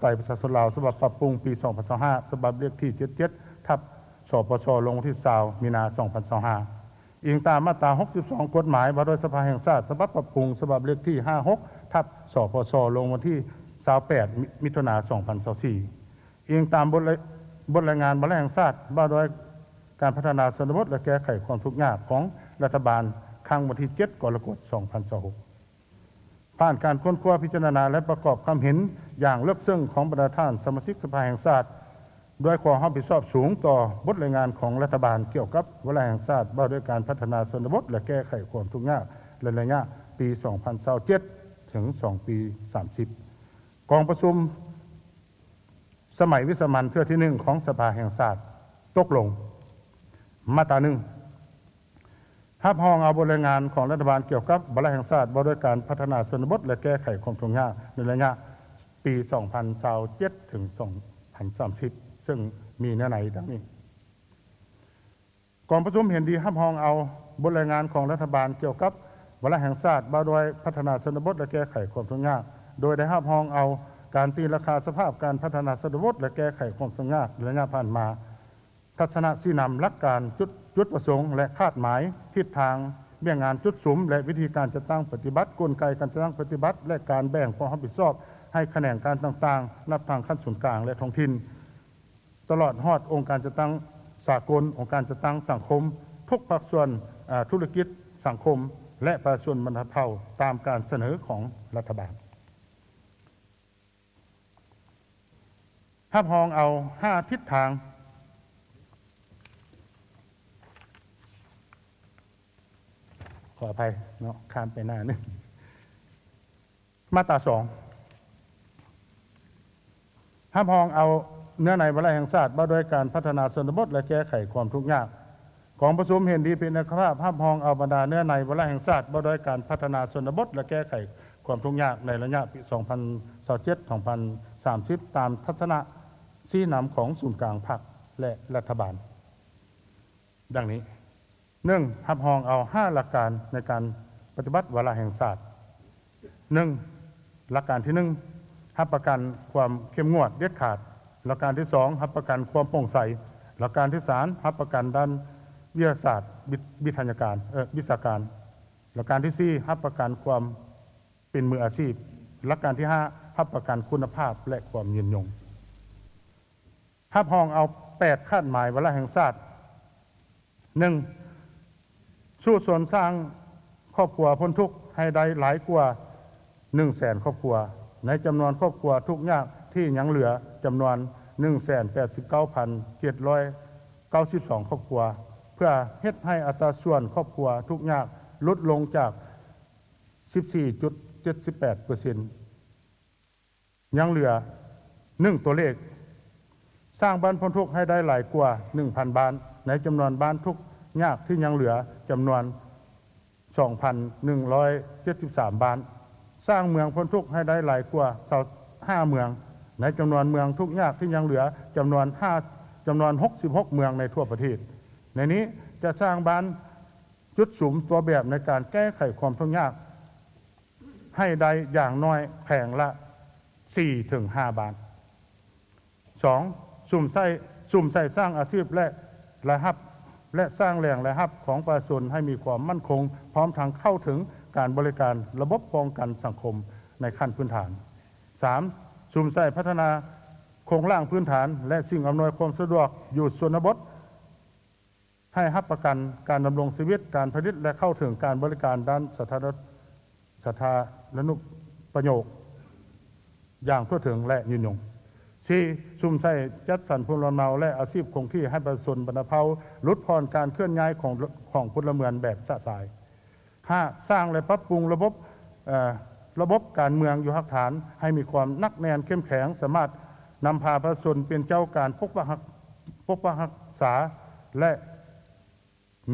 ໄຕປະຊາຊົນລາວ ສະບັບປັບປຸງ ປີສອງພັນຊາວຫ້າ ສະບັບເລກທີເຈັດເຈັດ ທັບ ສປຊ ລົງວັນທີຊາວ ມີນາ ສອງພັນຊາວຫ້າ. ອີງຕາມມາດຕາຫົກສິບສອງ ກົດໝາຍວ່າດ້ວຍສະພາແຫ່ງຊາດ ສະບັບປັບປຸງ ສະບັບເລກທີຫ້າຫົກ ທັບ ສປຊ ລົງວັນທີຊາວແປດ ມິ ມິຖຸນາ ສອງພັນຊາວສີ່. ອີງຕາມບົດລາຍ ບົດລາຍງານວາລະແຫ່ງຊາດ ວ່າດ້ວຍການພັດທະນາຊົນນະບົດ ແລະ ແກ້ໄຂຄວາມທຸກຍາກ ຂອງລັດຖະບານ ຄັ້ງວັນທີເຈັດ ກໍລະກົດ ສອງພັນຊາວຫົກ. ຜ່ານການຄົ້ນຄວ້າ, ພິຈາລະນາ ແລະ ປະກອບຄຳເຫັນຢ່າງເລິກເຊິ່ງຂອງບັນດາທ່ານສະມາຊິກສະພາແຫ່ງຊາດ, ດ້ວຍຄວາມຮັບຜິດຊອບສູງຕໍ່ບົດລາຍງານຂອງລັດຖະບານກ່ຽວກັບວາລະແຫ່ງຊາດວ່າດ້ວຍການພັດທະນາຊົນນະບົດ ແລະ ແກ້ໄຂຄວາມທຸກຍາກ ໃນໄລຍະປີສອງພັນຊາວເຈັດ ເຖິງສອງພັນສາມສິບ. ກອງປະຊຸມສະໄໝວິສາມັນເທື່ອທີໜຶ່ງຂອງສະພາແຫ່ງຊາດຕົກລົງ. ມາດຕາໜຶ່ງ ຮັບຮອງເອົາບົດລາຍງານຂອງລັດຖະບານກ່ຽວກັບວາລະແຫ່ງຊາດວ່າດ້ວຍການພັດທະນາຊົນນະບົດ ແລະ ແກ້ໄຂຄວາມທຸກຍາກ ໃນໄລຍະປີສອງພັນຊາວເຈັດ ເຖິງສອງພັນສາມສິບ ເຊິ່ງມີເນື້ອໃນດັ່ງນີ້. ກອງປະຊຸມເຫັນດີຮັບຮອງເອົາບົດລາຍງານຂອງລັດຖະບານກ່ຽວກັບວາລະແຫ່ງຊາດວ່າດ້ວຍພັດທະນາຊົນນະບົດ ແລະ ແກ້ໄຂຄວາມທຸກຍາກ, ໂດຍໄດ້ຮັບຮອງເອົາການຕີລາຄາສະພາບການພັດທະນາຊົນນະບົດ ແລະ ແກ້ໄຂຄວາມທຸກຍາກໃນໄລຍະຜ່ານມາ, ທັດສະນະຊີ້ນຳ, ຫຼັກການ, ຈຸດ, ຈຸດປະສົງ ແລະ ຄາດໝາຍ, ທິດທາງ, ວຽກງານ, ຈຸດສຸມ ແລະ ວິທີການຈັດຕັ້ງປະຕິບັດ, ກົນໄກການຈັດຕັ້ງປະຕິບັດ ແລະ ການແບ່ງຄວາມຮັບຜິດຊອບໃຫ້ຂະແໜງການຕ່າງໆ, ນັບທັງຂັ້ນສູນກາງ ແລະ ທ້ອງຖິ່ນ, ຕະຫຼອດຮອດອົງການຈັດຕັ້ງສາກົນ, ອົງການຈັດຕັ້ງສັງຄົມ, ທຸກພາກສ່ວນ, ອາ, ທຸລະກິດ, ສັງຄົມ ແລະ ປະຊາຊົນບັນດາເຜົ່າ ຕາມການສະເໜີຂອງລັດຖະບານ. ຮັບຮອງເອົາຫ້າທິດທາງ, ຂໍອະໄພເນາະ, ຂ້າມໄປໜ້າໜຶ່ງ. ມາດຕາສອງ ຮັບຮອງເອົາເນື້ອໃນວາລະແຫ່ງຊາດວ່າດ້ວຍການພັດທະນາຊົນນະບົດ ແລະ ແກ້ໄຂຄວາມທຸກຍາກ. ກອງປະຊຸມເຫັນດີເປັນເອກະພາບຮັບຮອງເອົາບັນດາເນື້ອໃນວາລະແຫ່ງຊາດວ່າດ້ວຍການພັດທະນາຊົນນະບົດ ແລະ ແກ້ໄຂຄວາມທຸກຍາກໃນໄລຍະປີສອງພັນຊາວເຈັດ ສອງພັນສາມສິບ ຕາມທັດສະນະຊີ້ນຳຂອງສູນກາງພັກ ແລະ ລັດຖະບານ ດັ່ງນີ້. ໜຶ່ງ, ຮັບຮອງເອົາຫ້າຫຼັກການໃນການປະຕິບັດວາລະແຫ່ງຊາດ. ໜຶ່ງ, ຫຼັກການທີໜຶ່ງ, ຮັບປະກັນຄວາມເຂັ້ມງວດເດັດຂາດ. ຫຼັກການທີສອງ, ຮັບປະກັນຄວາມໂປ່ງໃສ. ຫຼັກການທີສາມ, ຮັບປະກັນດ້ານວິທະຍາສາດ, ວິ ວິທະຍາການ, ເອີ, ວິຊາການ. ຫຼັກການທີສີ່, ຮັບປະກັນຄວາມເປັນມືອາຊີບ. ຫຼັກການທີຫ້າ, ຮັບປະກັນຄຸນນະພາບ ແລະ ຄວາມຍືນຍົງ. ຮັບຮອງເອົາແປດຄາດໝາຍວາລະແຫ່ງຊາດ. ໜຶ່ງ, ສູ້ຊົນສ້າງຄອບຄົວພົ້ນທຸກໃຫ້ໄດ້ຫຼາຍກວ່າໜຶ່ງແສນຄອບຄົວ, ໃນຈຳນວນຄອບຄົວທຸກຍາກທີ່ຍັງເຫຼືອຈຳນວນໜຶ່ງແສນແປດສິບເກົ້າພັນເຈັດຮ້ອຍເກົ້າສິບສອງຄອບຄົວ, ເພື່ອເຮັດໃຫ້ອັດຕາສ່ວນຄອບຄົວທຸກຍາກຫຼຸດລົງຈາກສິບສີ່ຈຸດເຈັດສິບແປດເປີເຊັນ. ຍັງເຫຼືອ ໜຶ່ງ ຕົວເລກ, ສ້າງບ້ານພົ້ນທຸກໃຫ້ໄດ້ຫຼາຍກວ່າໜຶ່ງພັນບ້ານ, ໃນຈຳນວນບ້ານທຸກຍາກທີ່ຍັງເຫຼືອຈຳນວນສອງພັນໜຶ່ງຮ້ອຍເຈັດສິບສາມບ້ານ, ສ້າງເມືອງພົ້ນທຸກໃຫ້ໄດ້ຫຼາຍກວ່າຊາວຫ້າເມືອງ, ໃນຈຳນວນເມືອງທຸກຍາກທີ່ຍັງເຫຼືອຈຳນວນຫ້າ ຈຳນວນຫົກສິບຫົກເມືອງໃນທົ່ວປະເທດ. ໃນນີ້ຈະສ້າງບ້ານຈຸດສຸມຕົວແບບໃນການແກ້ໄຂຄວາມທຸກຍາກ ໃຫ້ໄດ້ຢ່າງໜ້ອຍແຂວງລະສີ່ເຖິງຫ້າບ້ານ. ສອງ, ສຸມໃສ່ ສຸມໃສ່ສ້າງອາຊີບ ແລະ ລາຍຮັບ ແລະ ສ້າງແຫຼ່ງລາຍຮັບຂອງປະຊາຊົນໃຫ້ມີຄວາມໝັ້ນຄົງ, ພ້ອມທັງເຂົ້າເຖິງການບໍລິການລະບົບປ້ອງກັນສັງຄົມໃນຂັ້ນພື້ນຖານ. ສາມ, ສຸມໃສ່ພັດທະນາໂຄງລ່າງພື້ນຖານ ແລະ ສິ່ງອຳນວຍຄວາມສະດວກຢູ່ຊົນນະບົດ ໃຫ້ຮັບປະກັນການດຳລົງຊີວິດ, ການຜະລິດ ແລະ ເຂົ້າເຖິງການບໍລິການດ້ານສາທາລະ ສາທາລະນຸປະໂຫຍກຢ່າງທົ່ວເຖິງ ແລະ ຍືນຍົງ. ສີ່, ສຸມໃສ່ຈັດສັນພູມລຳເນົາ ແລະ ອາຊີບຄົງທີ່ໃຫ້ປະຊາຊົນບັນດາເຜົ່າຫຼຸດຜ່ອນການເຄື່ອນຍ້າຍຂອງ ຂອງພົນລະເມືອງແບບຊະຊາຍ. ຫ້າ, ສ້າງ ແລະ ປັບປຸງລະບົບ ເອີ ລະບົບການເມືອງຢູ່ຮາກຖານໃຫ້ມີຄວາມໜັກແໜ້ນເຂັ້ມແຂງ, ສາມາດນຳພາປະຊາຊົນເປັນເຈົ້າການປົກປັກຮັກ ປົກປັກຮັກສາ ແລະ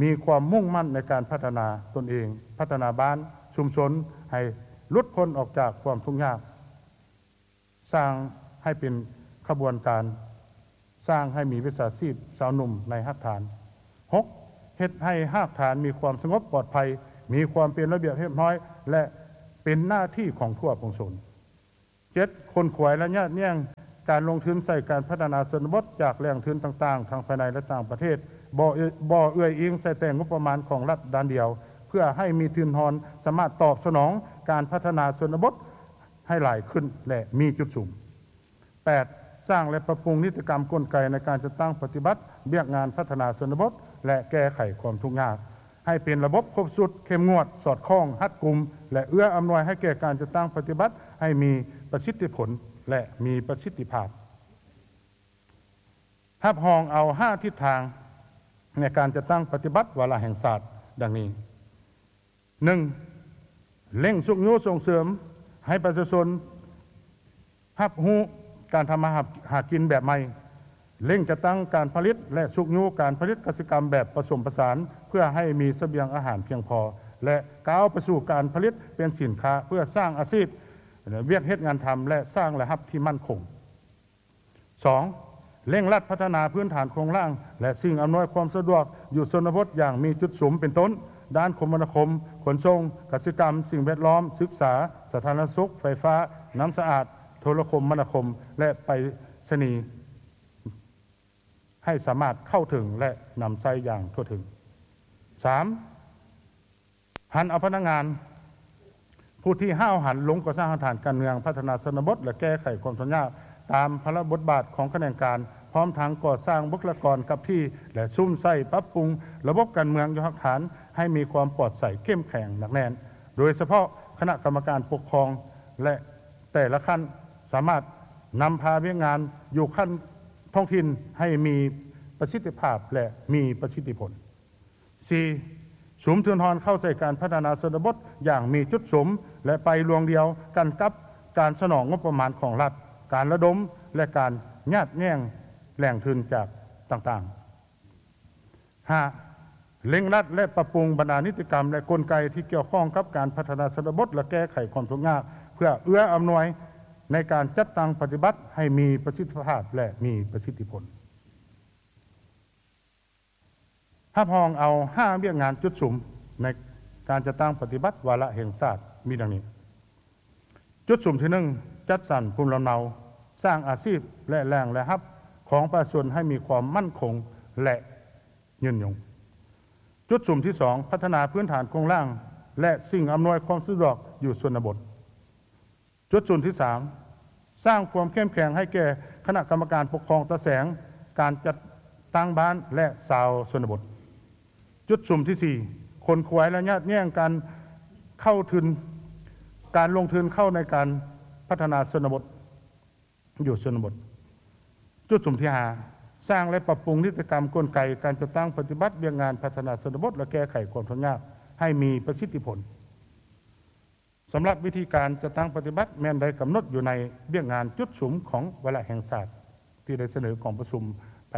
ມີຄວາມມຸ່ງໝັ້ນໃນການພັດທະນາຕົນເອງ, ພັດທະນາບ້ານ, ຊຸມຊົນ ໃຫ້ຫຼຸດພົ້ນອອກຈາກຄວາມທຸກຍາກ. ສ້າງໃຫ້ເປັນຂະບວນການ, ສ້າງໃຫ້ມີວິຊາຊີບຊາວໜຸ່ມໃນຮາກຖານ. ຫົກ, ເຮັດໃຫ້ຮາກຖານມີຄວາມສະຫງົບປອດໄພ, ມີຄວາມເປັນລະບຽບຮຽບຮ້ອຍ ແລະ ເປັນໜ້າທີ່ຂອງທົ່ວປວງຊົນ. ເຈັດ, ຂົນຂວາຍ ແລະ ຍາດແຍ່ງການລົງທຶນໃສ່ການພັດທະນາຊົນນະບົດຈາກແຫຼ່ງທຶນຕ່າງໆ ທັງພາຍໃນ ແລະ ຕ່າງປະເທດ, ບໍ່ເອື້ອ ບໍ່ເອື້ອຍອີງໃສ່ແຕ່ງົບປະມານຂອງລັດດ້ານດຽວ, ເພື່ອໃຫ້ມີທຶນຮອນສາມາດຕອບສະໜອງການພັດທະນາຊົນນະບົດໃຫ້ຫຼາຍຂຶ້ນ ແລະ ມີຈຸດສຸມ. ແປດ, ສ້າງ ແລະ ປັບປຸງນິຕິກຳກົນໄກໃນການຈັດຕັ້ງປະຕິບັດວຽກງານພັດທະນາຊົນນະບົດ ແລະ ແກ້ໄຂຄວາມທຸກຍາກ ໃຫ້ເປັນລະບົບຄົບຊຸດ, ເຂັ້ມງວດ, ສອດຄ່ອງ, ຮັດກຸມ ແລະ ເອື້ອອຳນວຍໃຫ້ແກ່ການຈັດຕັ້ງປະຕິບັດໃຫ້ມີປະສິດທິຜົນ ແລະ ມີປະສິດທິພາບ. ຮັບຮອງເອົາຫ້າທິດທາງໃນການຈັດຕັ້ງປະຕິບັດວາລະແຫ່ງຊາດ ດັ່ງນີ້. ໜຶ່ງ, ເລັ່ງຊຸກຍູ້ສົ່ງເສີມໃຫ້ປະຊາຊົນຮັບຮູ້ການທຳມາຫາ ຫາກິນແບບໃໝ່, ເລັ່ງຈັດຕັ້ງການຜະລິດ ແລະ ຊຸກຍູ້ການຜະລິດກະສິກຳແບບປະສົມປະສານ ເພື່ອໃຫ້ມີສະບຽງອາຫານພຽງພໍ ແລະ ກ້າວໄປສູ່ການຜະລິດເປັນສິນຄ້າເພື່ອສ້າງອາຊີບ, ວຽກເຮັດງານທຳ ແລະ ສ້າງລາຍຮັບທີ່ໝັ້ນຄົງ. ສອງ, ເລັ່ງລັດພັດທະນາພື້ນຖານໂຄງລ່າງ ແລະ ສິ່ງອຳນວຍຄວາມສະດວກຢູ່ຊົນນະບົດຢ່າງມີຈຸດສຸມ ເປັນຕົ້ນ ດ້ານຄົມມະນາຄົມ, ຂົນສົ່ງ, ກະສິກຳ, ສິ່ງແວດລ້ອມ, ສຶກສາ, ສາທາລະນະສຸກ, ໄຟຟ້າ, ນ້ຳສະອາດ, ໂທລະຄົມມະນາຄົມ ແລະ ໄປສະນີ ໃຫ້ສາມາດເຂົ້າເຖິງ ແລະ ນຳໃຊ້ຢ່າງທົ່ວເຖິງ. ສາມ, ຫັນເອົາພະນັກງານຜູ້ທີ່ຫ້າວຫັນລົງກໍ່ສ້າງຮາກຖານການເມືອງພັດທະນາຊົນນະບົດ ແລະ ແກ້ໄຂຄວາມທຸກຍາກຕາມພາລະບົດບາດຂອງຂະແໜງການ, ພ້ອມທັງກໍ່ສ້າງບຸກຄະລາກອນກັບທີ່ ແລະ ສຸມໃສ່ປັບປຸງລະບົບການເມືອງຢູ່ຮາກຖານໃຫ້ມີຄວາມປອດໃສເຂັ້ມແຂງໜັກແໜ້ນ, ໂດຍສະເພາະຄະນະກຳມະການປົກຄອງ ແລະ ແຕ່ລະຂັ້ນສາມາດນຳພາວຽກງານຢູ່ຂັ້ນທ້ອງຖິ່ນໃຫ້ມີປະສິດທິພາບ ແລະ ມີປະສິດທິຜົນ. ສີ່, ສຸມທຶນຮອນເຂົ້າໃສ່ການພັດທະນາຊົນນະບົດຢ່າງມີຈຸດສຸມ ແລະ ໄປລວງດຽວກັນກັບການສະໜອງງົບປະມານຂອງລັດ, ການລະດົມ ແລະ ການຍາດແຍ່ງແຫຼ່ງທຶນຈາກຕ່າງໆ. ຫ້າ, ເລັ່ງລັດ ແລະ ປັບປຸງບັນດານິຕິກຳ ແລະ ກົນໄກທີ່ກ່ຽວຂ້ອງກັບການພັດທະນາຊົນນະບົດ ແລະ ແກ້ໄຂຄວາມທຸກຍາກ ເພື່ອເອື້ອອຳນວຍໃນການຈັດຕັ້ງປະຕິບັດໃຫ້ມີປະສິດທິພາບ ແລະ ມີປະສິດທິຜົນ. ຮັບຮອງເອົາຫ້າວຽກງານຈຸດສຸມໃນການຈັດຕັ້ງປະຕິບັດວາລະແຫ່ງຊາດມີດັ່ງນີ້. ຈຸດສຸມທີໜຶ່ງ, ຈັດສັນພູມລຳເນົາ, ສ້າງອາຊີບ ແລະ ແຫຼ່ງລາຍຮັບຂອງປະຊາຊົນໃຫ້ມີຄວາມໝັ້ນຄົງ ແລະ ຍືນຍົງ. ຈຸດສຸມທີສອງ, ພັດທະນາພື້ນຖານໂຄງລ່າງ ແລະ ສິ່ງອຳນວຍຄວາມສະດວກຢູ່ຊົນນະບົດ. ຈຸດສຸມທີສາມ, ສ້າງຄວາມເຂັ້ມແຂງໃຫ້ແກ່ຄະນະກຳມະການປົກຄອງຕາແສງ, ການຈັດຕັ້ງບ້ານ ແລະ ຊາວຊົນນະບົດ. ຈຸດສຸມທີສີ່, ຂົນຂວາຍ ແລະ ຍາດແຍ່ງການເຂົ້າທຶນ, ການລົງທຶນເຂົ້າໃນການພັດທະນາຊົນນະບົດ, ຢູ່ຊົນນະບົດ. ຈຸດສຸມທີຫ້າ, ສ້າງ ແລະ ປັບປຸງນິຕິກຳກົນໄກການຈັດຕັ້ງປະຕິບັດວຽກງານພັດທະນາຊົນນະບົດ ແລະ ແກ້ໄຂຄວາມທຸກຍາກໃຫ້ມີປະສິດທິຜົນ. ສຳລັບວິທີການຈັດຕັ້ງປະຕິບັດແມ່ນໄດ້ກຳນົດຢູ່ໃນວຽກງານຈຸດສຸມຂອງວາລະແຫ່ງຊາດທີ່ໄດ້ສະເໜີກອງປະຊຸມໄປ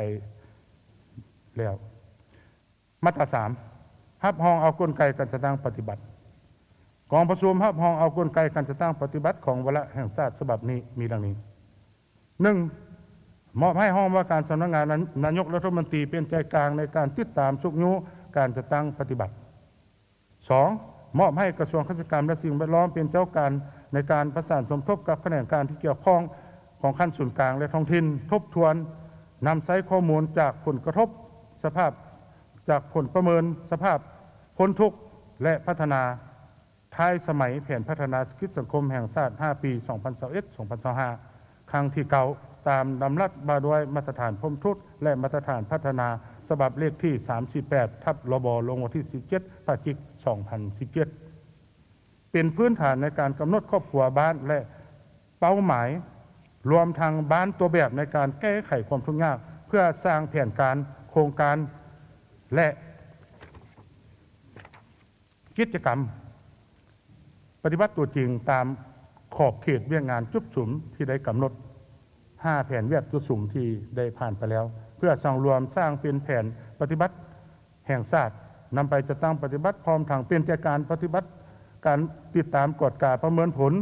ແລ້ວ. ມາດຕາສາມ, ຮັບຮອງເອົາກົນໄກການຈັດຕັ້ງປະຕິບັດ. ກອງປະຊຸມຮັບຮອງເອົາກົນໄກການຈັດຕັ້ງປະຕິບັດຂອງວາລະແຫ່ງຊາດສະບັບນີ້ມີດັ່ງນີ້. ໜຶ່ງ, ມອບໃຫ້ຫ້ອງວ່າການສຳນັກງານນາຍົກລັດຖະມົນຕີເປັນໃຈກາງໃນການຕິດຕາມຊຸກຍູ້ການຈັດຕັ້ງປະຕິບັດ. ສອງ, ມອບໃຫ້ກະຊວງກະສິກຳ ແລະ ສິ່ງແວດລ້ອມເປັນເຈົ້າການໃນການປະສານສົມທົບກັບຂະແໜງການທີ່ກ່ຽວຂ້ອງຂອງຂັ້ນສູນກາງ ແລະ ທ້ອງຖິ່ນ ທົບທວນນຳໃຊ້ຂໍ້ມູນຈາກຜົນກະທົບສະພາບ ຈາກຜົນປະເມີນສະພາບພົ້ນທຸກ ແລະ ພັດທະນາ ທ້າຍສະໄໝແຜນພັດທະນາເສດຖະກິດສັງຄົມແຫ່ງຊາດຫ້າປີ ສອງພັນຊາວເອັດ ສອງພັນຊາວຫ້າ ຄັ້ງທີເກົ້າ ຕາມດຳລັດວ່າດ້ວຍມາດຕະຖານພົ້ນທຸກ ແລະ ມາດຕະຖານພັດທະນາ ສະບັບເລກທີສາມສີ່ແປດ ທັບ ລບ ລົງວັນທີສິບເຈັດ ພະຈິກ ສອງພັນສິບເຈັດ ເປັນພື້ນຖານໃນການກຳນົດຄອບຄົວບ້ານ ແລະ ເປົ້າໝາຍ ລວມທັງບ້ານຕົວແບບໃນການແກ້ໄຂຄວາມທຸກຍາກ ເພື່ອສ້າງແຜນການ, ໂຄງການ ແລະ ກິດຈະກຳປະຕິບັດຕົວຈິງຕາມຂອບເຂດວຽກງານຈຸດສຸມທີ່ໄດ້ກຳນົດ ຫ້າແຜນວຽກຈຸດສຸມທີ່ໄດ້ຜ່ານໄປແລ້ວ ເພື່ອສັງລວມສ້າງເປັນແຜນປະຕິບັດແຫ່ງຊາດ ນຳໄປຈັດຕັ້ງປະຕິບັດ ພ້ອມທັງເປັນໃຈກາງປະຕິບັດການຕິດຕາມ, ກວດກາ, ປະເມີນຜົນ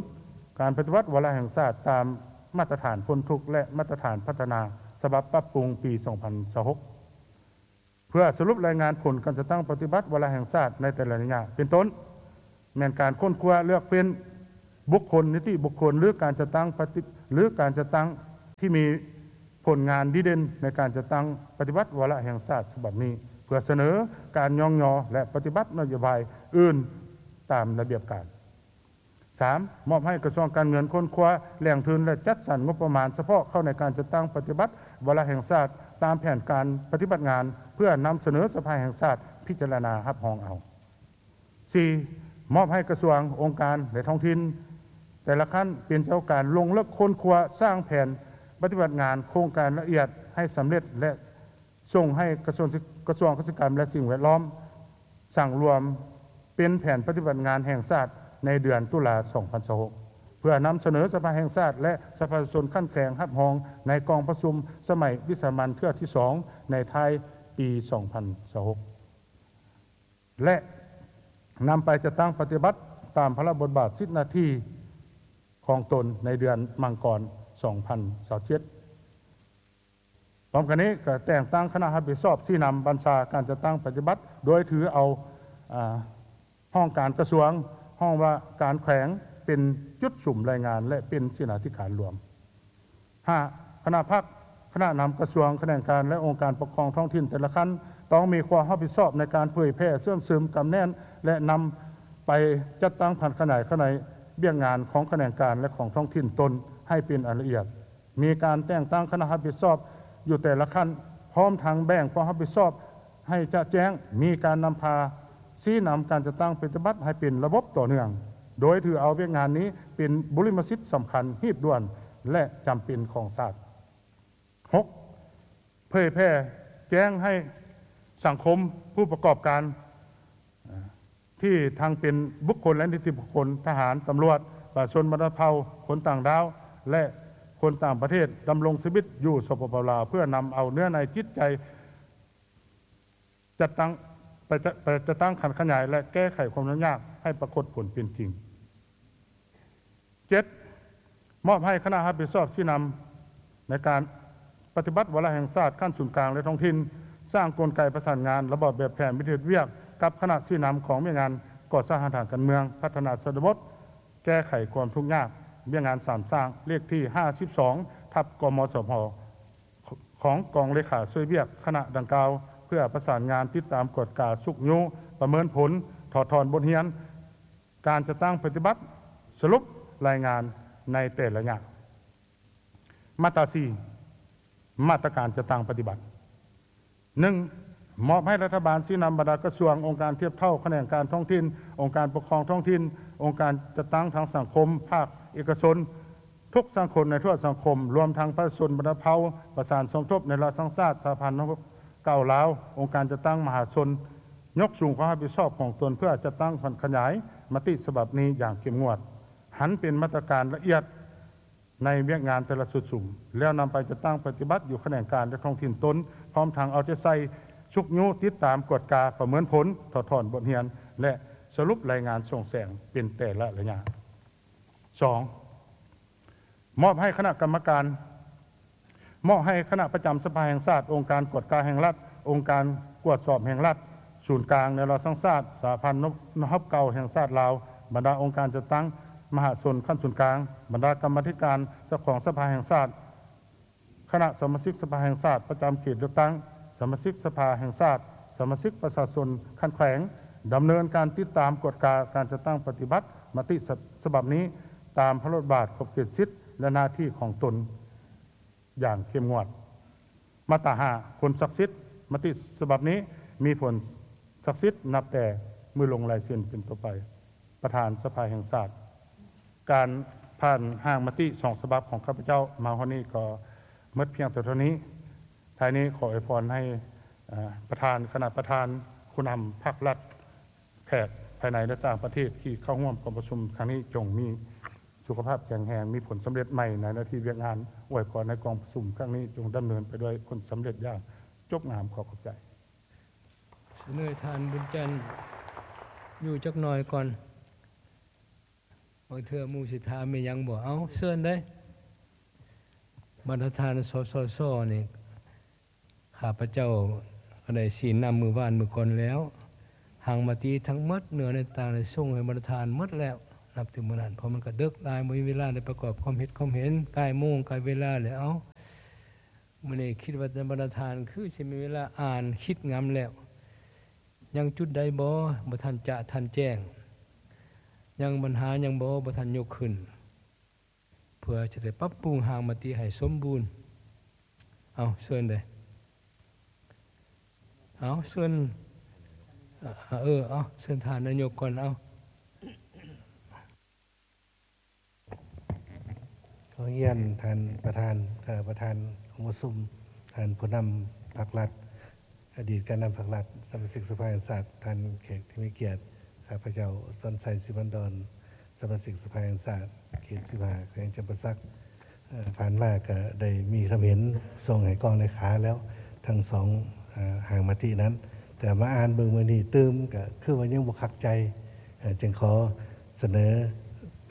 ການປະຕິບັດວາລະແຫ່ງຊາດຕາມມາດຕະຖານພົ້ນທຸກ ແລະ ມາດຕະຖານພັດທະນາສະບັບປັບປຸງປີສອງພັນຊາວຫົກ. ເພື່ອສະຫຼຸບລາຍງານຜົນການຈັດຕັ້ງປະຕິບັດວາລະແຫ່ງຊາດໃນແຕ່ລະໄລຍະ ເປັນຕົ້ນ ແມ່ນການຄົ້ນຄວ້າເລືອກເຟ້ນ ບຸກຄົນ, ນິຕິບຸກຄົນ ຫຼື ການຈັດຕັ້ງປະຕິ ຫຼື ການຈັດຕັ້ງທີ່ມີຜົນງານດີເດັ່ນໃນການຈັດຕັ້ງປະຕິບັດວາລະແຫ່ງຊາດສະບັບນີ້ ເພື່ອສະເໜີການຍ້ອງຍໍ ແລະ ປະຕິບັດນະໂຍບາຍອື່ນຕາມລະບຽບການ. ສາມ, ມອບໃຫ້ກະຊວງການເງິນຄົ້ນຄວ້າແຫຼ່ງທຶນ ແລະ ຈັດສັນງົບປະມານສະເພາະເຂົ້າໃນການຈັດຕັ້ງປະຕິບັດວາລະແຫ່ງຊາດຕາມແຜນການປະຕິບັດງານ ເພື່ອນຳສະເໜີສະພາແຫ່ງຊາດພິຈາລະນາຮັບຮອງເອົາ. ສີ່, ມອບໃຫ້ກະຊວງ, ອົງການ ແລະ ທ້ອງຖິ່ນແຕ່ລະຂັ້ນເປັນເຈົ້າການລົງເລິກຄົ້ນຄວ້າ, ສ້າງແຜນປະຕິບັດງານໂຄງການລະອຽດໃຫ້ສຳເລັດ ແລະ ສົ່ງໃຫ້ກະຊວງ, ກະຊວງກະສິກຳ ແລະ ສິ່ງແວດລ້ອມ ສັງລວມເປັນແຜນປະຕິບັດງານແຫ່ງຊາດໃນເດືອນຕຸລາ ສອງພັນຊາວຫົກ ເພື່ອນຳສະເໜີສະພາແຫ່ງຊາດ ແລະ ສະພາປະຊາຊົນຂັ້ນແຂວງຮັບຮອງໃນກອງປະຊຸມສະໄໝວິສາມັນເທື່ອທີສອງໃນທ້າຍປີ ສອງພັນຊາວຫົກ ແລະ ນຳໄປຈັດຕັ້ງປະຕິບັດຕາມພາລະບົດບາດສິດໜ້າທີ່ຂອງຕົນໃນເດືອນມັງກອນ ສອງພັນຊາວເຈັດ. ພ້ອມກັນນີ້ກໍແຕ່ງຕັ້ງຄະນະຮັບຜິດຊອບຊີ້ນຳບັນຊາການຈັດຕັ້ງປະຕິບັດ ໂດຍຖືເອົາ, ອາ, ຫ້ອງການກະຊວງ, ຫ້ອງວ່າການແຂວງເປັນຈຸດສຸມລາຍງານ ແລະ ເປັນເສນາທິການລວມ. ຫ້າ, ຄະນະພັກ, ຄະນະນຳກະຊວງ, ຂະແໜງການ ແລະ ອົງການປົກຄອງທ້ອງຖິ່ນແຕ່ລະຂັ້ນ ຕ້ອງມີຄວາມຮັບຜິດຊອບໃນການເຜີຍແຜ່, ເຊື່ອມຊຶມ, ກຳແໜ້ນ ແລະ ນຳໄປຈັດຕັ້ງຜັນຂະຫຍາຍຂະໜາຍວຽກງານຂອງຂະແໜງການ ແລະ ຂອງທ້ອງຖິ່ນຕົນໃຫ້ເປັນອັນລະອຽດ. ມີການແຕ່ງຕັ້ງຄະນະຮັບຜິດຊອບຢູ່ແຕ່ລະຂັ້ນ, ພ້ອມທັງແບ່ງຄວາມຮັບຜິດຊອບໃຫ້ຈະແຈ້ງ, ມີການນຳພາຊີ້ນຳການຈັດຕັ້ງປະຕິບັດໃຫ້ເປັນລະບົບຕໍ່ເນື່ອງ, ໂດຍຖືເອົາວຽກງານນີ້ເປັນບຸລິມະສິດສຳຄັນ, ຮີບດ່ວນ ແລະ ຈຳເປັນຂອງຊາດ. ຫົກ, ເຜີຍແຜ່ແຈ້ງໃຫ້ສັງຄົມ, ຜູ້ປະກອບການ, ທີ່ທັງເປັນບຸກຄົນ ແລະ ນິຕິບຸກຄົນ, ທະຫານ, ຕຳຫຼວດ, ປະຊາຊົນບັນດາເຜົ່າ, ຄົນຕ່າງດ້າວ ແລະ ຄົນຕ່າງປະເທດ ດຳລົງຊີວິດຢູ່ ສປປ ລາວ ເພື່ອນຳເອົາເນື້ອໃນຈິດໃຈ ຈັດຕັ້ງ, ໄປຈະ, ໄປຈັດຕັ້ງຜັນຂະຫຍາຍ ແລະ ແກ້ໄຂຄວາມຫຍຸ້ງຍາກໃຫ້ປາກົດຜົນເປັນຈິງ. ເຈັດ, ມອບໃຫ້ຄະນະຮັບຜິດຊອບຊີ້ນຳໃນການປະຕິບັດວາລະແຫ່ງຊາດຂັ້ນສູນກາງ ແລະ ທ້ອງຖິ່ນ, ສ້າງກົນໄກປະສານງານລະບອບແບບແຜນວິທີເຮັດວຽກກັບຄະນະຊີ້ນຳຂອງວຽກງານກໍ່ສ້າງຮາກຖານການເມືອງ, ພັດທະນາຊົນນະບົດ, ແກ້ໄຂຄວາມທຸກຍາກ, ວຽກງານສາມສ້າງ ເລກທີຫ້າສິບສອງ ທັບ ກມສພ ຂອງກອງເລຂາຊ່ວຍວຽກຄະນະດັ່ງກ່າວ ເພື່ອປະສານງານ, ຕິດຕາມ, ກວດກາ, ຊຸກຍູ້, ປະເມີນຜົນ, ຖອດຖອນບົດຮຽນ, ການຈັດຕັ້ງປະຕິບັດ, ສະຫຼຸບລາຍງານໃນແຕ່ລະໄລຍະ. ມາດຕາສີ່ ມາດຕະການຈັດຕັ້ງປະຕິບັດ. ໜຶ່ງ, ມອບໃຫ້ລັດຖະບານຊີ້ນຳບັນດາກະຊວງ, ອົງການທຽບເທົ່າ, ຂະແໜງການທ້ອງຖິ່ນ, ອົງການປົກຄອງທ້ອງຖິ່ນ, ອົງການຈັດຕັ້ງທາງສັງຄົມ, ພາກເອກະຊົນ, ທຸກສັງຄົມໃນທົ່ວສັງຄົມ, ລວມທັງປະຊາຊົນບັນດາເຜົ່າ, ປະສານສົມທົບໃນລາວທັງຊາດ, ສະຫະພັນນັກຮົບເກົ່າລາວ, ອົງການຈັດຕັ້ງມະຫາຊົນ, ຍົກສູງຄວາມຮັບຜິດຊອບຂອງຕົນເພື່ອຈັດຕັ້ງຜັນຂະຫຍາຍມະຕິສະບັບນີ້ຢ່າງເຂັ້ມງວດ, ຫັນເປັນມາດຕະການລະອຽດໃນວຽກງານແຕ່ລະຊຸດສຸມ, ແລ້ວນຳໄປຈັດຕັ້ງປະຕິບັດຢູ່ຂະແໜງການ ແລະ ທ້ອງຖິ່ນຕົນ, ພ້ອມທັງເອົາໃຈໃສ່ຊຸກຍູ້, ຕິດຕາມ, ກວດກາ, ປະເມີນຜົນ, ຖອດຖອນບົດຮຽນ ແລະ ສະຫຼຸບລາຍງານສ່ອງແສງເປັນແຕ່ລະໄລຍະ. ສອງ, ມອບໃຫ້ຄະນະກຳມະການ, ມອບໃຫ້ຄະນະປະຈຳສະພາແຫ່ງຊາດ, ອົງການກວດກາແຫ່ງລັດ, ອົງການກວດສອບແຫ່ງລັດສູນກາງ ແນວລາວສ້າງຊາດ, ສະຫະພັນນັກຮົບເກົ່າແຫ່ງຊາດລາວ, ບັນດາອົງການຈັດຕັ້ງມະຫາຊົນຂັ້ນສູນກາງ, ບັນດາກຳມາທິການເຈົ້າຂອງສະພາແຫ່ງຊາດ, ຄະນະສະມາຊິກສະພາແຫ່ງຊາດປະຈຳເຂດເລືອກຕັ້ງ, ສະມາຊິກສະພາແຫ່ງຊາດ, ສະມາຊິກປະຊາຊົນຂັ້ນແຂວງ ດຳເນີນການຕິດຕາມກວດກາການຈັດຕັ້ງປະຕິບັດມະຕິສະບັບນີ້ ຕາມພາລະບົດບາດ, ຂອບເຂດສິດ ແລະ ໜ້າທີ່ຂອງຕົນຢ່າງເຂັ້ມງວດ. ມາດຕາຫ້າ ຜົນສັກສິດ, ມະຕິສະບັບນີ້ມີຜົນສັກສິດນັບແຕ່ມື້ລົງລາຍເຊັນເປັນຕົ້ນໄປ. ປະທານສະພາແຫ່ງຊາດ. ການຜ່ານຮ່າງມະຕິສອງສະບັບຂອງຂ້າພະເຈົ້າມາຮອດນີ້ກໍໝົດພຽງແຕ່ເທົ່ານີ້. ທ້າຍນີ້ຂໍອວຍພອນໃຫ້, ເອີ, ປະທານ, ຄະນະປະທານ, ຜູ້ນຳພັກລັດ, ແຂກພາຍໃນ ແລະ ຕ່າງປະເທດທີ່ເຂົ້າຮ່ວມກອງປະຊຸມຄັ້ງນີ້ ຈົ່ງມີສຸຂະພາບແຂງແຮງ, ມີຜົນສຳເລັດໃໝ່ໃນໜ້າທີ່ວຽກງານ. ອວຍພອນໃຫ້ກອງປະຊຸມຄັ້ງນີ້ຈົ່ງດຳເນີນໄປດ້ວຍຜົນສຳເລັດຢ່າງຈົບງາມ. ຂໍຂອບໃຈ. ສະເໜີທ່ານບຸນຈັນຢູ່ຈັກໜ່ອຍກ່ອນ. ບາງເທື່ອໝູ່ຊິຖາມມີຫຍັງບໍ່? ເອົາ, ເຊີນເດ້. ບັນດາທ່ານ ສສຊ ນີ້ ຂ້າພະເຈົ້າກໍໄດ້ຊີ້ນຳມື້ວານມື້ກ່ອນແລ້ວ. ຮ່າງມະຕິທັງໝົດເນື້ອໃນຕ່າງໄດ້ສົ່ງໃຫ້ບັນດາທ່ານໝົດແລ້ວ. ນັບແຕ່ມື້ນັ້ນ ເພາະມັນກໍເດິກຫຼາຍ ບໍ່ມີເວລາໄດ້ປະກອບຄວາມເຮັດຄວາມເຫັນ ໃກ້ໂມງໃກ້ເວລາແລ້ວ. ເອົ້າ ມື້ນີ້ຄິດວ່າຈະບັນດາທ່ານຄືຊິມີເວລາອ່ານຄິດງຳແລ້ວ ຍັງຈຸດໃດບໍ່ ບໍ່ທັນຈະທັນແຈ້ງ ຍັງບັນຫາຫຍັງບໍ່ ບໍ່ທັນຍົກຂຶ້ນ ເພື່ອຈະໄດ້ປັບປຸງຮ່າງມະຕິໃຫ້ສົມບູນ. ເອົາ ເຊີນເດີ້. ເອົາ ເຊີນ ເອີ ເອົາ ເຊີນທ່ານນາຍົກກ່ອນ. ເອົາ ຂໍຮຽນທ່ານປະທານ, ເອີ ປະທານກອງປະຊຸມ, ທ່ານຜູ້ນຳພັກລັດ, ອະດີດການນຳພັກລັດ, ສະມາຊິກສະພາແຫ່ງຊາດ, ທ່ານແຂກທີ່ມີກຽດ, ຂ້າພະເຈົ້າ ສອນໄຊ ສີພັນດອນ, ສະມາຊິກສະພາແຫ່ງຊາດ ເຂດສິບຫ້າ ແຂວງຈຳປາສັກ. ເອີ ຜ່ານມາກໍໄດ້ມີຄຳເຫັນສົ່ງໃຫ້ກອງເລຂາແລ້ວ ທັງສອງ ເອີ ຮ່າງມະຕິນັ້ນ, ແຕ່ມາອ່ານເບິ່ງມື້ນີ້ຕື່ມ ກໍຄືວ່າຍັງບໍ່ຄັກໃຈ, ເອີ ຈຶ່ງຂໍ ສະເໜີ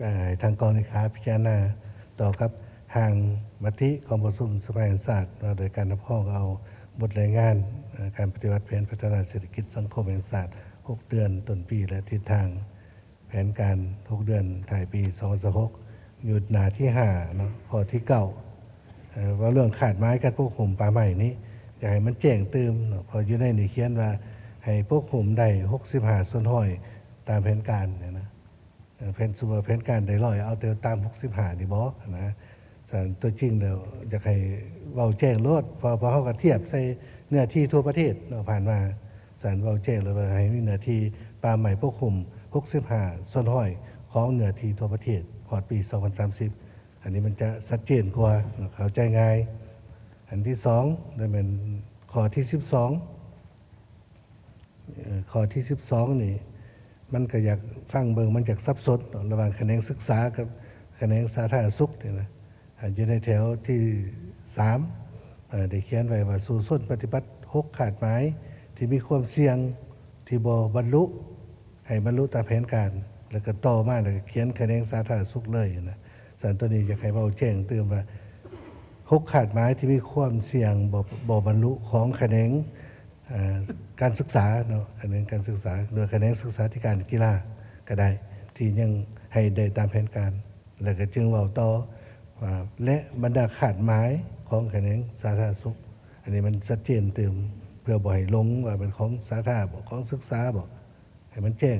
ເອີ ໃຫ້ທາງກອງເລຂາພິຈາລະນາຕໍ່ກັບຮ່າງມະຕິກອງປະຊຸມສະພາແຫ່ງຊາດ ວ່າໂດຍການຮັບຮອງເອົາບົດລາຍງານ ເອີ ການປະຕິບັດແຜນພັດທະນາເສດຖະກິດສັງຄົມແຫ່ງຊາດຫົກເດືອນຕົ້ນປີ ແລະ ທິດທາງແຜນການຫົກເດືອນທ້າຍປີສອງພັນຊາວຫົກ ຢູ່ໜ້າທີຫ້າເນາະ ຂໍ້ທີເກົ້າ ເອີ ເວົ້າເລື່ອງຄາດໝາຍການປົກຫຸ້ມປ່າໄມ້ນີ້ ຢາກໃຫ້ມັນແຈ້ງຕື່ມເນາະ ເພາະຢູ່ໃນນີ້ຂຽນວ່າໃຫ້ປົກຫຸ້ມໄດ້ຫົກສິບຫ້າສ່ວນຮ້ອຍຕາມແຜນການນີ້ນະ. ເອີ ແຜນ ສົມມຸດວ່າແຜນການໄດ້ຮ້ອຍ ເອົາແຕ່ຕາມຫົກສິບຫ້ານີ້ບໍນະ? ສະນັ້ນຕົວຈິງແລ້ວຢາກໃຫ້ເວົ້າແຈ້ງໂລດ ເພາະ ເພາະເຮົາກໍທຽບໃສ່ເນື້ອທີ່ທົ່ວປະເທດເນາະ ຜ່ານມາ. ສະນັ້ນເວົ້າແຈ້ງໂລດວ່າໃຫ້ມີເນື້ອທີ່ປ່າໄມ້ປົກຫຸ້ມຫົກສິບຫ້າສ່ວນຮ້ອຍຂອງເນື້ອທີ່ທົ່ວປະເທດຮອດປີສອງພັນສາມສິບ. ອັນນີ້ມັນຈະຊັດເຈນກວ່າເນາະ ເຂົ້າໃຈງ່າຍ. ອັນທີສອງ ນັ້ນແມ່ນຂໍ້ທີສິບສອງ ເອີ ຂໍ້ທີສິບສອງນີ້ ມັນກໍຢາກຟັງເບິ່ງ ມັນຢາກສັບສົນເນາະ ລະຫວ່າງຂະແໜງສຶກສາກັບຂະແໜງສາທາລະນະສຸກນີ້ນະ. ອາ ຢູ່ໃນແຖວທີສາມ ເອີ ໄດ້ຂຽນໄວ້ວ່າ ສູ້ຊົນປະຕິບັດຫົກຄາດໝາຍທີ່ມີຄວາມສ່ຽງທີ່ບໍ່ບັນລຸ ໃຫ້ບັນລຸຕາມແຜນການ ແລ້ວກໍຕໍ່ມາ ແລ້ວກໍຂຽນຂະແໜງສາທາລະນະສຸກເລີຍນະ. ສະນັ້ນ ໂຕນີ້ຢາກໃຫ້ເວົ້າແຈ້ງຕື່ມວ່າ ຫົກຄາດໝາຍທີ່ມີຄວາມສ່ຽງບໍ່ ບໍ່ບັນລຸຂອງຂະແໜງ ເອີ ການສຶກສາເນາະ ຂະແໜງການສຶກສາ ຫຼືຂະແໜງສຶກສາທິການ ກິລາກໍໄດ້ ທີ່ຍັງໃຫ້ໄດ້ຕາມແຜນການ ແລ້ວກໍຈຶ່ງເວົ້າຕໍ່ວ່າ ແລະ ບັນດາຄາດໝາຍຂອງຂະແໜງສາທາລະນະສຸກ. ອັນນີ້ມັນຊັດເຈນຕື່ມ ເພື່ອບໍ່ໃຫ້ຫຼົງວ່າເປັນຂອງສາທາບໍ ຂອງສຶກສາບໍ ໃຫ້ມັນແຈ້ງ.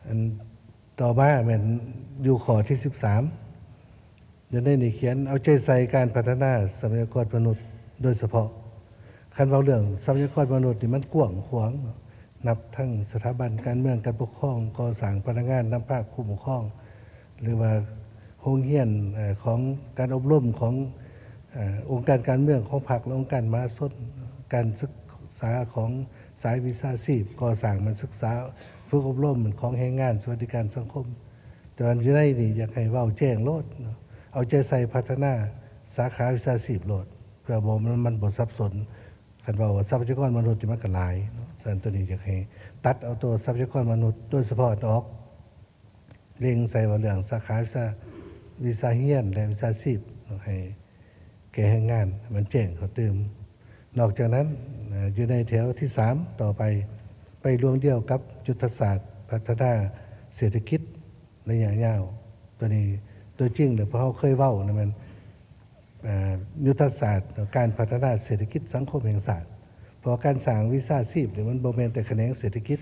ອັນຕໍ່ມາແມ່ນຢູ່ຂໍ້ທີສິບສາມ ຢູ່ໃນນີ້ຂຽນ ເອົາໃຈໃສ່ການພັດທະນາຊັບພະຍາກອນມະນຸດໂດຍສະເພາະ. ຄັນເວົ້າເລື່ອງຊັບພະຍາກອນມະນຸດນີ້ ມັນກວ້າງຂວາງເນາະ ນັບທັງສະຖາບັນການເມືອງ, ການປົກຄອງ, ກໍ່ສ້າງ, ພະນັກງານນຳພາ, ຜູ້ປົກຄອງ ຫຼືວ່າໂຮງຮຽນ ເອີ ຂອງການອົບຮົມຂອງ ເອີ ອົງການການເມືອງຂອງພັກ ແລະ ອົງການມະຫາຊົນ, ການສຶກສາຂອງສາຍວິຊາຊີບ, ກໍ່ສ້າງແມ່ນສຶກສາຝຶກອົບຮົມຂອງແຮງງານ, ສະຫວັດດີການສັງຄົມ. ແຕ່ວ່າຢູ່ໃນນີ້ຢາກໃຫ້ເວົ້າແຈ້ງໂລດເນາະ ເອົາໃຈໃສ່ພັດທະນາສາຂາວິຊາຊີບໂລດ ເພື່ອບໍ່ ມັນ ມັນບໍ່ສັບສົນ. ຄັນເວົ້າວ່າຊັບພະຍາກອນມະນຸດນີ້ມັນກໍຫຼາຍເນາະ ສະນັ້ນໂຕນີ້ຢາກໃຫ້ຕັດເອົາໂຕຊັບພະຍາກອນມະນຸດໂດຍສະເພາະອອກ ເລັງໃສ່ວ່າເລື່ອງສາຂາວິຊາ ວິຊາຮຽນ ແລະ ວິຊາຊີບເນາະ ໃຫ້ແກ່ແຮງງານ ໃຫ້ມັນແຈ້ງເຂົ້າຕື່ມ. ນອກຈາກນັ້ນ ເອີ ຢູ່ໃນແຖວທີສາມຕໍ່ໄປ ໄປລວງດຽວກັບຍຸດທະສາດພັດທະນາເສດຖະກິດໄລຍະຍາວ. ໂຕນີ້ຕົວຈິງແລ້ວ ພວກເຮົາເຄີຍເວົ້ານະ ແມ່ນ ເອີ ຍຸດທະສາດການພັດທະນາເສດຖະກິດສັງຄົມແຫ່ງຊາດ. ເພາະວ່າການສ້າງວິຊາຊີບນີ້ ມັນບໍ່ແມ່ນແຕ່ຂະແໜງເສດຖະກິດ,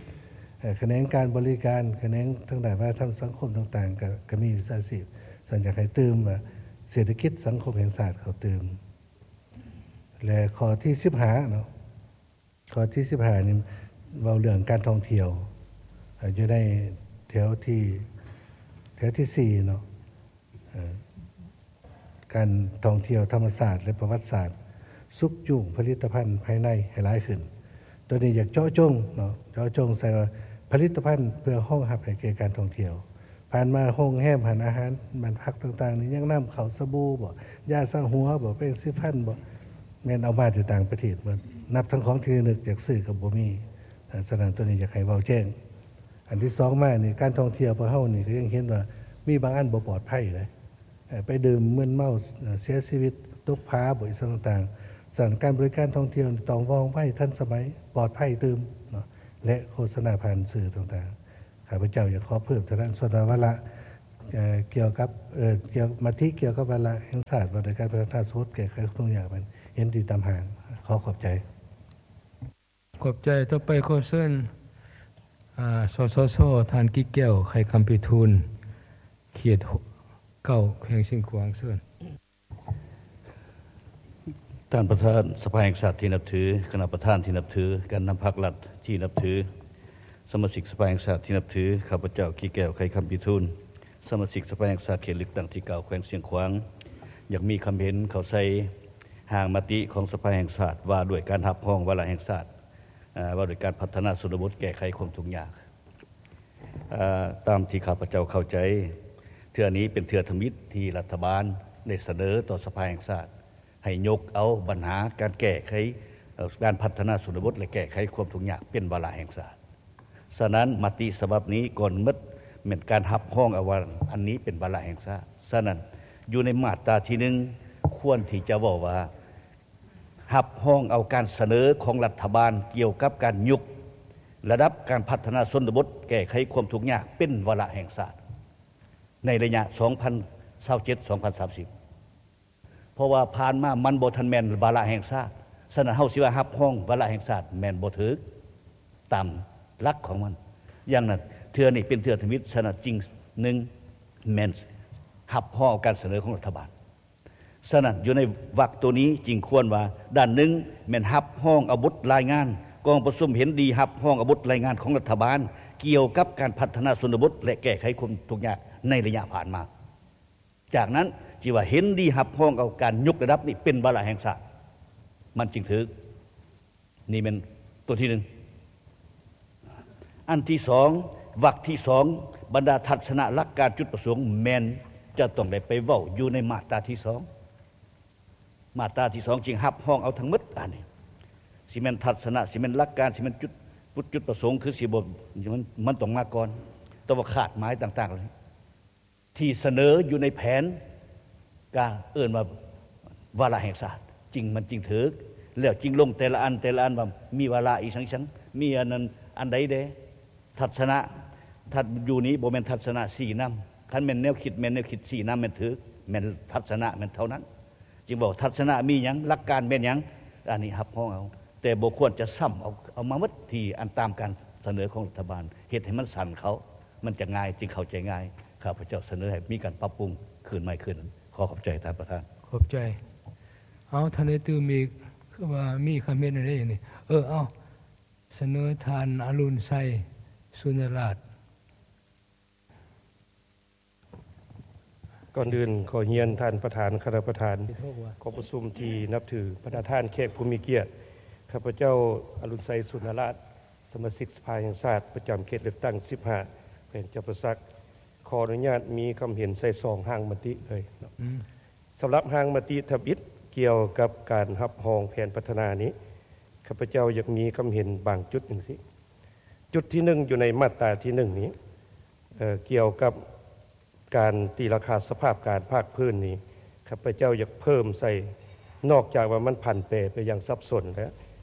ເອີ ຂະແໜງການບໍລິການ, ຂະແໜງທາງດ້ານວັດທະນະທຳສັງຄົມຕ່າງໆ ກໍ ກໍມີວິຊາຊີບ. ສະນັ້ນຢາກໃຫ້ຕື່ມວ່າເສດຖະກິດສັງຄົມແຫ່ງຊາດເຂົ້າຕື່ມ. ແລະ ຂໍ້ທີສິບຫ້າເນາະ ຂໍ້ທີສິບຫ້ານີ້ເວົ້າເລື່ອງການທ່ອງທ່ຽວ ເອີ ຢູ່ໃນແຖວທີ ແຖວທີສີ່ເນາະ ເອີ ການທ່ອງທ່ຽວທຳມະຊາດ ແລະ ປະຫວັດສາດ ຊຸກຈູງຜະລິດຕະພັນພາຍໃນໃຫ້ຫຼາຍຂຶ້ນ. ໂຕນີ້ຢາກເຈາະຈົງເນາະ ເຈາະຈົງໃສ່ວ່າຜະລິດຕະພັນເພື່ອຮອງຮັບໃຫ້ແກ່ການທ່ອງທ່ຽວ. ຜ່ານມາໂຮງແຮມ ຮ້ານອາຫານ ບ້ານພັກຕ່າງໆນີ້ ຍັງນຳເຂົ້າສະບູບໍ ຢາສະຫົວບໍ ແປງສີຟັນບໍ ແມ່ນເອົາມາແຕ່ຕ່າງປະເທດໝົດ ນັບທັງຂອງທີ່ລະນຶກຢາກຊື້ກໍບໍ່ມີ. ສະນັ້ນ ໂຕນີ້ຢາກໃຫ້ເວົ້າແຈ້ງ. ອັນທີສອງມານີ້ ການທ່ອງທ່ຽວພວກເຮົານີ້ກໍຍັງເຫັນວ່າມີບາງອັນບໍ່ປອດໄພເດ້ ເອີ ໄປດື່ມມຶນເມົາ ເອີ ເສຍຊີວິດ ຕົກຜາບໍ ອີ່ຫຍັງຕ່າງໆ. ສະນັ້ນ ການບໍລິການທ່ອງທ່ຽວນີ້ຕ້ອງວ່ອງໄວ ທັນສະໄໝ ປອດໄພຕື່ມເນາະ ແລະ ໂຄສະນາຜ່ານສື່ຕ່າງໆ. ຂ້າພະເຈົ້າຢາກຂໍເພີ່ມເທົ່ານັ້ນ. ສ່ວນວ່າວາລະ ເອີ່ ກ່ຽວກັບ ເອີ່ ກ່ຽວ ມະຕິກ່ຽວກັບວາລະແຫ່ງຊາດ ວ່າດ້ວຍການພັດທະນາຊົນບົດແກ້ໄຂຄວາມທຸກຍາກນັ້ນ ເຫັນດີຕາມຮ່າງ. ຂໍຂອບໃຈ. ຂອບໃຈ. ຕໍ່ໄປຂໍເຊີນ ອາ ສສຊ ທ່ານ ກິແກ້ວ ໄຂຄຳພິທູນ ເຂດເກົ້າ ແຂວງຊຽງຂວາງ. ເຊີນ. ທ່ານປະທານສະພາແຫ່ງຊາດທີ່ນັບຖື, ຄະນະປະທານທີ່ນັບຖື, ການນຳພັກລັດທີ່ນັບຖື, ສະມາຊິກສະພາແຫ່ງຊາດທີ່ນັບຖື, ຂ້າພະເຈົ້າ ກິແກ້ວ ໄຂຄຳພິທູນ ສະມາຊິກສະພາແຫ່ງຊາດເຂດເລືອກຕັ້ງທີເກົ້າ ແຂວງຊຽງຂວາງ ຢາກມີຄຳເຫັນເຂົ້າໃສ່ຮ່າງມະຕິຂອງສະພາແຫ່ງຊາດ ວ່າດ້ວຍການຮັບຮອງວາລະແຫ່ງຊາດ ອາ ວ່າດ້ວຍການພັດທະນາຊົນນະບົດແກ້ໄຂຄວາມທຸກຍາກ. ເອີ່ ຕາມທີ່ຂ້າພະເຈົ້າເຂົ້າໃຈ, ເທື່ອນີ້ເປັນເທື່ອທຳອິດທີ່ລັດຖະບານໄດ້ສະເໜີຕໍ່ສະພາແຫ່ງຊາດ ໃຫ້ຍົກເອົາບັນຫາການແກ້ໄຂ ເອີ່ ການພັດທະນາຊົນນະບົດ ແລະ ແກ້ໄຂຄວາມທຸກຍາກເປັນວາລະແຫ່ງຊາດ. ສະນັ້ນ ມະຕິສະບັບນີ້ກ່ອນໝົດແມ່ນການຮັບຮອງເອົາວ່າອັນນີ້ເປັນວາລະແຫ່ງຊາດ. ສະນັ້ນ ຢູ່ໃນມາດຕາທີໜຶ່ງ ຄວນທີ່ຈະເວົ້າວ່າ ຮັບຮອງເອົາການສະເໜີຂອງລັດຖະບານກ່ຽວກັບການຍົກລະດັບການພັດທະນາຊົນນະບົດແກ້ໄຂຄວາມທຸກຍາກເປັນວາລະແຫ່ງຊາດ ໃນໄລຍະສອງພັນຊາວເຈັດ ສອງພັນສາມສິບ ເພາະວ່າຜ່ານມາມັນບໍ່ທັນແມ່ນວາລະແຫ່ງຊາດ. ສະນັ້ນ ເຮົາຊິວ່າຮັບຮອງວາລະແຫ່ງຊາດແມ່ນບໍ່ຖືກຕາມຫຼັກຂອງມັນ. ຢ່າງນັ້ນ ເທື່ອນີ້ເປັນເທື່ອທຳອິດ. ສະນັ້ນ ຈຶ່ງ ໜຶ່ງ ແມ່ນຮັບຮອງເອົາການສະເໜີຂອງລັດຖະບານ. ສະນັ້ນ ຢູ່ໃນວັກໂຕນີ້ຈຶ່ງຄວນວ່າ ດ້ານໜຶ່ງແມ່ນຮັບຮອງເອົາບົດລາຍງານ, ກອງປະຊຸມເຫັນດີຮັບຮອງເອົາບົດລາຍງານຂອງລັດຖະບານ ກ່ຽວກັບການພັດທະນາຊົນນະບົດ ແລະ ແກ້ໄຂຄວາມທຸກຍາກໃນໄລຍະຜ່ານມາ. ຈາກນັ້ນຈຶ່ງວ່າເຫັນດີຮັບຮອງເອົາການຍົກລະດັບນີ້ເປັນວາລະແຫ່ງຊາດ ມັນຈຶ່ງຖືກ. ນີ້ແມ່ນຕົວທີໜຶ່ງ. ອັນທີສອງ ວັກທີສອງ ບັນດາທັດສະນະຫຼັກການຈຸດປະສົງແມ່ນຈະຕ້ອງໄດ້ໄປເວົ້າຢູ່ໃນມາດຕາທີສອງ. ມາດຕາທີສອງຈຶ່ງຮັບຮອງເອົາທັງໝົດ. ອັນນີ້ຊິແມ່ນທັດສະນະ, ຊິແມ່ນຫຼັກການ, ຊິແມ່ນຈຸດ, ຈຸດປະສົງ ຄືຊິບໍ່ ມັນ, ມັນຕ້ອງມາກ່ອນ. ແຕ່ວ່າຄາດໝາຍຕ່າງໆ ທີ່ສະເໜີຢູ່ໃນແຜນ ກະເອີ້ນວ່າວາລະແຫ່ງຊາດ ຈຶ່ງ ມັນຈຶ່ງຖືກ. ແລ້ວຈຶ່ງລົງແຕ່ລະອັນ ແຕ່ລະອັນວ່າມີວາລະອີ່ຫຍັງໆ ມີອັນນັ້ນອັນໃດແດ່. ທັດສະນະ ທັດ ຢູ່ນີ້ບໍ່ແມ່ນທັດສະນະຊີ້ນຳ. ຄັນແມ່ນແນວຄິດ ແມ່ນແນວຄິດຊີ້ນຳ ແມ່ນຖືກ ແມ່ນທັດສະນະ ແມ່ນເທົ່ານັ້ນ. ຈຶ່ງບອກທັດສະນະມີຫຍັງ ຫຼັກການແມ່ນຫຍັງ ອັນນີ້ຮັບຮອງເອົາ ແຕ່ບໍ່ຄວນຈະຊ້ຳເອົາ ເອົາມາໝົດທີ່ອັນຕາມການສະເໜີຂອງລັດຖະບານ ເຮັດໃຫ້ມັນສັ້ນເຂົ້າ ມັນຈະງ່າຍ ຈຶ່ງເຂົ້າໃຈງ່າຍ. ຂ້າພະເຈົ້າສະເໜີໃຫ້ມີການປັບປຸງຄືນໃໝ່ຄືນ. ຂໍຂອບໃຈທ່ານປະທານ. ຂອບໃຈ. ເອົາ ທ່ານໄດ້ຕື່ມອີກ ຄືວ່າມີຄຳເຫັນແນວໃດນີ້? ເອີ ເອົາ ສະເໜີທ່ານອະລຸນໄຊ ສຸນນະລາດ. ກ່ອນອື່ນຂໍຮຽນທ່ານປະທານ, ຄະນະປະທານກອງປະຊຸມທີ່ນັບຖື, ບັນດາທ່ານແຂກຜູ້ມີກຽດ, ຂ້າພະເຈົ້າ ອະລຸນໄຊ ສຸນນະລາດ, ສະມາຊິກສະພາແຫ່ງຊາດ ປະຈຳເຂດເລືອກຕັ້ງສິບຫ້າ ແຂວງຈຳປາສັກ, ຂໍອະນຸຍາດມີຄຳເຫັນໃສ່ສອງຮ່າງມະຕິເລີຍເນາະ. ອືມ. ສຳລັບຮ່າງມະຕິທຳອິດກ່ຽວກັບການຮັບຮອງແຜນພັດທະນານີ້, ຂ້າພະເຈົ້າຢາກມີຄຳເຫັນບາງຈຸດຈັ່ງຊີ້. ຈຸດທີໜຶ່ງ ຢູ່ໃນມາດຕາທີໜຶ່ງນີ້, ເອີ ກ່ຽວກັບການຕີລາຄາສະພາບການພາກພື້ນນີ້, ຂ້າພະເຈົ້າຢາກເພີ່ມໃສ່, ນອກຈາກວ່າມັນຜັນແປໄປຢ່າງສັບສົນແລ້ວ,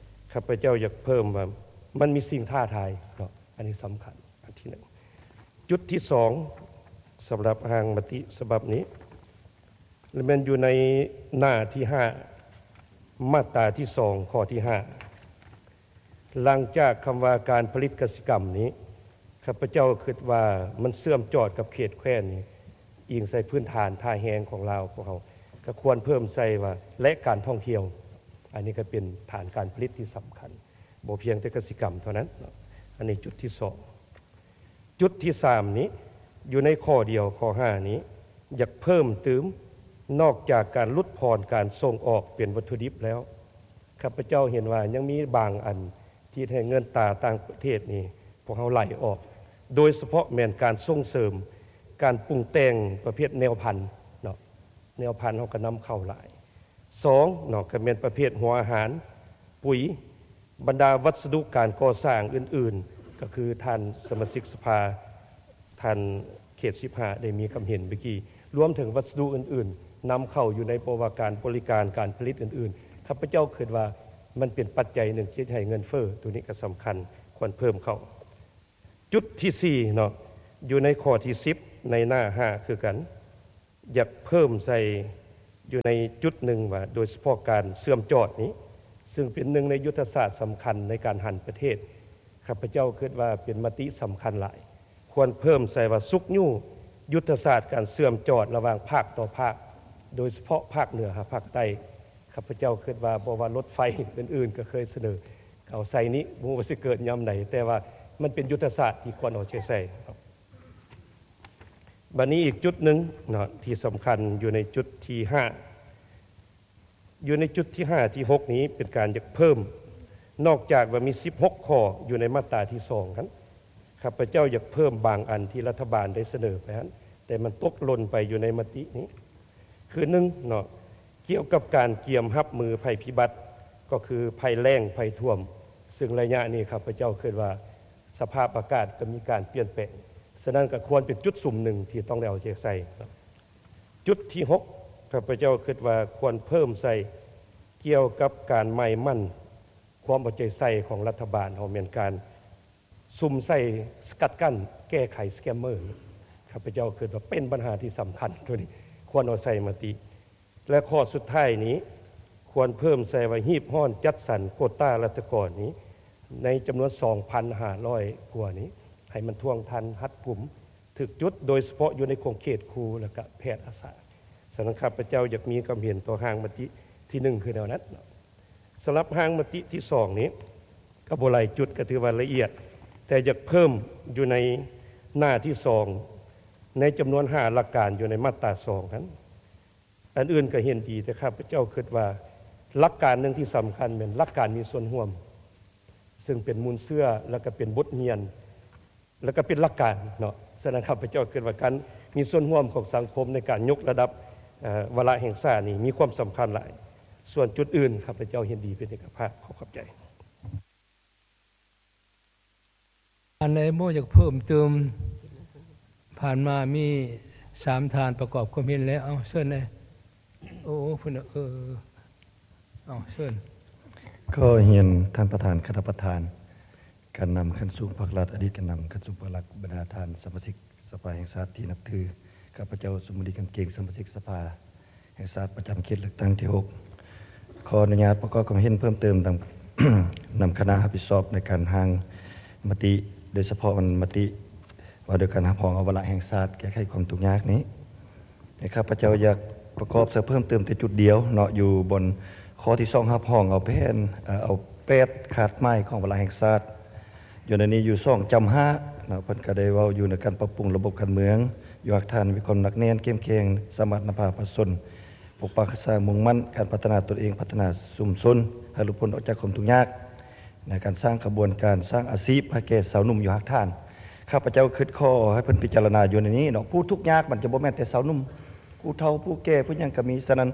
ຂ້າພະເຈົ້າຢາກເພີ່ມວ່າມັນມີສິ່ງທ້າທາຍເນາະ, ອັນນີ້ສຳຄັນ ອັນທີໜຶ່ງ. ຈຸດທີສອງ ສຳລັບຮ່າງມະຕິສະບັບນີ້ ແມ່ນຢູ່ໃນໜ້າທີຫ້າ ມາດຕາທີສອງ ຂໍ້ທີຫ້າ ຫຼັງຈາກຄຳວ່າການຜະລິດກະສິກຳນີ້, ຂ້າພະເຈົ້າຄິດວ່າມັນເຊື່ອມຈອດກັບເຂດແຄວ້ນນີ້, ອີງໃສ່ພື້ນຖານທ່າແຮງຂອງລາວພວກເຮົາ, ກໍຄວນເພີ່ມໃສ່ວ່າ ແລະ ການທ່ອງທ່ຽວ. ອັນນີ້ກໍເປັນຖານການຜະລິດທີ່ສຳຄັນ, ບໍ່ພຽງແຕ່ກະສິກຳເທົ່ານັ້ນເນາະ. ອັນນີ້ຈຸດທີສອງ. ຈຸດທີສາມນີ້ ຢູ່ໃນຂໍ້ດຽວ ຂໍ້ຫ້ານີ້ ຢາກເພີ່ມຕື່ມ, ນອກຈາກການຫຼຸດຜ່ອນການສົ່ງອອກເປັນວັດຖຸດິບແລ້ວ, ຂ້າພະເຈົ້າເຫັນວ່າຍັງມີບາງອັນທີ່ເຮັດໃຫ້ເງິນຕາຕ່າງປະເທດນີ້ ພວກເຮົາໄຫຼອອກ, ໂດຍສະເພາະແມ່ນການສົ່ງເສີມການປຸງແຕ່ງປະເພດແນວພັນເນາະ, ແນວພັນເຮົາກໍນຳເຂົ້າຫຼາຍ. ສອງເນາະ ກໍແມ່ນປະເພດຫົວອາຫານ, ປຸຍ, ບັນດາວັດສະດຸການກໍ່ສ້າງອື່ນໆ, ກໍຄືທ່ານສະມາຊິກສະພາ, ທ່ານເຂດສິບຫ້າ ໄດ້ມີຄຳເຫັນເມື່ອກີ້, ລວມເຖິງວັດສະດຸອື່ນໆ ນຳເຂົ້າຢູ່ໃນ ບໍ່ວ່າການບໍລິການ, ການຜະລິດອື່ນໆ, ຂ້າພະເຈົ້າຄິດວ່າມັນເປັນປັດໄຈໜຶ່ງທີ່ເຮັດໃຫ້ເງິນເຟີ້, ໂຕນີ້ກໍສຳຄັນ, ຄວນເພີ່ມເຂົ້າ. ຈຸດທີສີ່ເນາະ ຢູ່ໃນຂໍ້ທີສິບ ໃນໜ້າຫ້າຄືກັນ ຢາກເພີ່ມໃສ່ຢູ່ໃນຈຸດໜຶ່ງວ່າ ໂດຍສະເພາະການເຊື່ອມຈອດນີ້ ຊຶ່ງເປັນໜຶ່ງໃນຍຸດທະສາດສຳຄັນໃນການຫັນປະເທດ, ຂ້າພະເຈົ້າຄິດວ່າເປັນມະຕິສຳຄັນຫຼາຍ, ຄວນເພີ່ມໃສ່ວ່າຊຸກຍູ້ຍຸດທະສາດການເຊື່ອມຈອດລະຫວ່າງພາກຕໍ່ພາກ, ໂດຍສະເພາະພາກເໜືອຫາພາກໃຕ້. ຂ້າພະເຈົ້າຄິດວ່າ ບໍ່ວ່າລົດໄຟອື່ນໆ ກໍເຄີຍສະເໜີ ເອົາໃສ່ນີ້ ບໍ່ຮູ້ວ່າຊິເກີດຍາມໃດ, ແຕ່ວ່າມັນເປັນຍຸດທະສາດທີ່ຄວນເອົາໃຈໃສ່. ບັດນີ້ອີກຈຸດໜຶ່ງເນາະ ທີ່ສຳຄັນຢູ່ໃນຈຸດທີຫ້າ ຢູ່ໃນຈຸດທີຫ້າ ທີຫົກນີ້ ເປັນການຢາກເພີ່ມ, ນອກຈາກວ່າມີສິບຫົກຂໍ້ຢູ່ໃນມາດຕາທີສອງຫັ້ນ, ຂ້າພະເຈົ້າຢາກເພີ່ມບາງອັນທີ່ລັດຖະບານໄດ້ສະເໜີໄປຫັ້ນ ແຕ່ມັນຕົກຫຼົ່ນໄປຢູ່ໃນມະຕິນີ້. ຄືໜຶ່ງເນາະ ກ່ຽວກັບການກຽມຮັບມືໄພພິບັດ ກໍຄືໄພແລ້ງ, ໄພຖ້ວມ, ຊຶ່ງໄລຍະນີ້ຂ້າພະເຈົ້າຄິດວ່າສະພາບອາກາດກໍມີການປ່ຽນແປງ, ສະນັ້ນກໍຄວນເປັນຈຸດສຸມໜຶ່ງທີ່ຕ້ອງໄດ້ເອົາໃຈໃສ່. ຈຸດທີຫົກ ຂ້າພະເຈົ້າຄິດວ່າຄວນເພີ່ມໃສ່ກ່ຽວກັບການໝາຍໝັ້ນຄວາມເອົາໃຈໃສ່ຂອງລັດຖະບານເຮົາ ແມ່ນການສຸມໃສ່ສະກັດກັ້ນແກ້ໄຂສະແກມເມີ. ຂ້າພະເຈົ້າຄິດວ່າເປັນບັນຫາທີ່ສຳຄັນ, ໂຕນີ້ຄວນເອົາໃສ່ມະຕິ. ແລະ ຂໍ້ສຸດທ້າຍນີ້ ຄວນເພີ່ມໃສ່ວ່າຮີບຮ້ອນຈັດສັນໂກຕາລັດຖະກອນນີ້ ໃນຈຳນວນສອງພັນຫ້າຮ້ອຍກວ່ານີ້ ໃຫ້ມັນທ່ວງທັນ, ຮັດກຸມ, ຖືກຈຸດ, ໂດຍສະເພາະຢູ່ໃນຂົງເຂດຄູ ແລະ ກະແພດອາສາ. ສະນັ້ນ ຂ້າພະເຈົ້າຢາກມີຄວາມເຫັນຕໍ່ຮ່າງມະຕິທີໜຶ່ງ ຄືແນວນັ້ນເນາະ. ສຳລັບຮ່າງມະຕິທີສອງນີ້ ກໍບໍ່ຫຼາຍຈຸດ, ກໍຖືວ່າລະອຽດ, ແຕ່ຢາກເພີ່ມຢູ່ໃນໜ້າທີສອງ ໃນຈຳນວນຫ້າຫຼັກການຢູ່ໃນມາດຕາສອງຫັ້ນ. ອັນອື່ນກໍເຫັນດີ, ແຕ່ຂ້າພະເຈົ້າຄິດວ່າຫຼັກການໜຶ່ງທີ່ສຳຄັນແມ່ນຫຼັກການມີສ່ວນຮ່ວມ, ຊຶ່ງເປັນມູນເຊື້ອ ແລະ ກໍເປັນບົດຮຽນ ແລະ ກໍເປັນຫຼັກການເນາະ. ສະນັ້ນ ຂ້າພະເຈົ້າຄິດວ່າການມີສ່ວນຮ່ວມຂອງສັງຄົມໃນການຍົກລະດັບ ເອີ ວາລະແຫ່ງຊາດນີ້ມີຄວາມສຳຄັນຫຼາຍ. ສ່ວນຈຸດອື່ນ ຂ້າພະເຈົ້າເຫັນດີເປັນເອກະພາບ. ຂໍຂອບໃຈ. ອັນໃດບໍ່ຢາກເພີ່ມເຕີມ? ຜ່ານມາມີສາມທ່ານປະກອບຄວາມເຫັນແລ້ວ. ເອົາ ເຊີນແດ່. ໂອ້ ພຸ້ນນະ ເອີ ເອົາ ເຊີນ. ຂໍຮຽນທ່ານປະທານ, ຄະນະປະທານ, ການນຳຂັ້ນສູງພັກລັດ, ອະດີດການນຳຂັ້ນສູງພັກລັດ, ບັນດາທ່ານສະມາຊິກສະພາແຫ່ງຊາດທີ່ນັບຖື, ຂ້າພະເຈົ້າ ສຸມມະດີ ຄຳເກັ່ງ, ສະມາຊິກສະພາແຫ່ງຊາດປະຈຳເຂດເລືອກຕັ້ງທີຫົກ ຂໍອະນຸຍາດປະກອບຄວາມເຫັນເພີ່ມເຕີມນຳ, ນຳຄະນະຮັບຜິດຊອບໃນການຮ່າງມະຕິ, ໂດຍສະເພາະມັນມະຕິວ່າດ້ວຍການຮັບຮອງເອົາວາລະແຫ່ງຊາດແກ້ໄຂຄວາມທຸກຍາກນີ້. ແລະ ຂ້າພະເຈົ້າຢາກປະກອບໃສ່ເພີ່ມເຕີມແຕ່ຈຸດດຽວເນາະ, ຢູ່ບ່ອນຂໍ້ທີສອງ ຮັບຮອງເອົາແຜນ, ເອີ ເອົາແປດຄາດໝາຍຂອງວາລະແຫ່ງຊາດ. ຢູ່ໃນນີ້ຢູ່ສອງຈຳຫ້າເນາະ, ເພິ່ນກໍໄດ້ເວົ້າຢູ່ໃນການປັບປຸງລະບົບການເມືອງ, ຢູ່ຮາກຖານມີຄວາມໜັກແໜ້ນເຂັ້ມແຂງ, ສາມາດນຳພາປະຊາຊົນປົກປັກຮັກສາ, ມຸ່ງໝັ້ນການພັດທະນາຕົນເອງ, ພັດທະນາຊຸມຊົນໃຫ້ຫຼຸດພົ້ນອອກຈາກຄວາມທຸກຍາກ. ໃນການສ້າງຂະບວນການສ້າງອາຊີບໃຫ້ແກ່ຊາວໜຸ່ມຢູ່ຮາກຖານ, ຂ້າພະເຈົ້າຄິດຂໍໃຫ້ເພິ່ນພິຈາລະນາຢູ່ໃນນີ້ເນາະ, ຜູ້ທຸກຍາກມັນຈະບໍ່ແມ່ນແຕ່ຊາວໜຸ່ມ, ຜູ້ເຖົ້າ, ຜູ້ແກ່, ຜູ້ຫຍັງກໍມີ. ສະນັ້ນ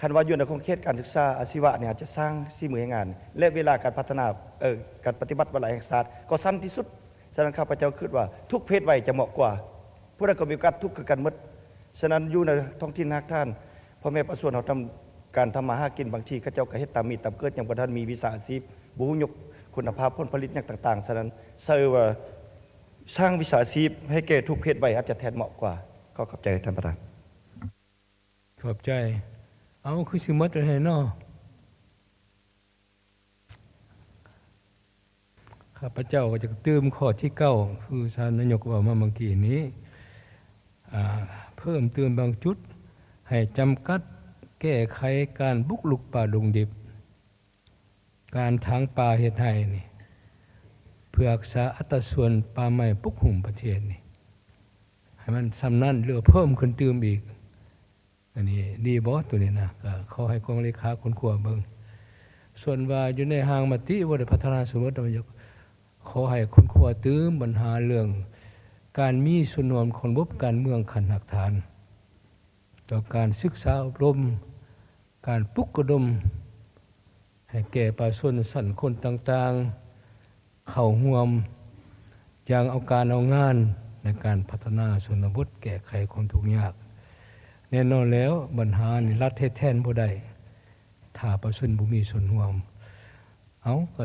ຄັນວ່າຢູ່ໃນຂົງເຂດການສຶກສາອາຊີວະນີ້ ອາດຈະສ້າງສີມືແຮງງານ ແລະ ເວລາການພັດທະນາ, ເອີ, ການປະຕິບັດວາລະແຫ່ງຊາດກໍສັ້ນທີ່ສຸດ. ສະນັ້ນ ຂ້າພະເຈົ້າຄິດວ່າທຸກເພດໄວຈະເໝາະກວ່າ, ຜູ້ໃດກໍມີໂອກາດທຸກຄືກັນໝົດ. ສະນັ້ນ ຢູ່ໃນທ້ອງຖິ່ນຮາກຖານ ພໍ່ແມ່ປະຊາຊົນເຮົາທຳ, ການທຳມາຫາກິນ ບາງທີເຂົາເຈົ້າກໍເຮັດຕາມມີດຕາມເກີດ, ຍັງບໍ່ທັນມີວິຊາອາຊີບ, ບໍ່ຮູ້ຍົກຄຸນນະພາບຜົນຜະລິດຫຍັງຕ່າງໆ. ສະນັ້ນ ເຊື່ອວ່າສ້າງວິຊາອາຊີບໃຫ້ແກ່ທຸກເພດໄວອາດຈະແທນເໝາະກວ່າ. ຂໍຂອບໃຈທ່ານປະທານ. ຂອບໃຈ. ເອົາ ຄືຊິໝົດແລ້ວແທ້ເນາະ. ຂ້າພະເຈົ້າກໍຈະຕື່ມຂໍ້ທີເກົ້າ ຄືທ່ານນາຍົກເວົ້າມາເມື່ອກີ້ນີ້, ອາ, ເພີ່ມຕື່ມບາງຈຸດ ໃຫ້ຈຳກັດແກ້ໄຂການບຸກລຸກປ່າດົງດິບ, ການຖາງປ່າເຮັດໄຮ່ນີ້ ເພື່ອຮັກສາອັດຕາສ່ວນປ່າໄມ້ປົກຫຸ້ມປະເທດນີ້ ໃຫ້ມັນສ່ຳນັ້ນ ຫຼື ເພີ່ມຂຶ້ນຕື່ມອີກ. ອັນນີ້ດີບໍ່ ໂຕນີ້ນະ? ກໍຂໍໃຫ້ກອງເລຂາຄົ້ນຄວ້າເບິ່ງ. ສ່ວນວ່າຢູ່ໃນຮ່າງມະຕິວ່າດ້ວຍພັດທະນາຊົນນະບົດ, ຂໍໃຫ້ຄົ້ນຄວ້າຕື່ມບັນຫາເລື່ອງການມີສ່ວນຮ່ວມຂອງລະບົບການເມືອງຂັ້ນຮາກຖານ ຕໍ່ການສຶກສາອົບຮົມ, ການປຸກລະດົມ ໃຫ້ແກ່ປະຊາຊົນຊັ້ນຄົນຕ່າງໆ ເຂົ້າຮ່ວມຢ່າງເອົາການເອົາງານໃນການພັດທະນາຊົນນະບົດ, ແກ້ໄຂຄວາມທຸກຍາກ. ແນ່ນອນແລ້ວ ບັນຫານີ້ລັດເຮັດແທນບໍ່ໄດ້ ຖ້າປະຊາຊົນບໍ່ມີສ່ວນຮ່ວມ. ເອົາ, ກໍ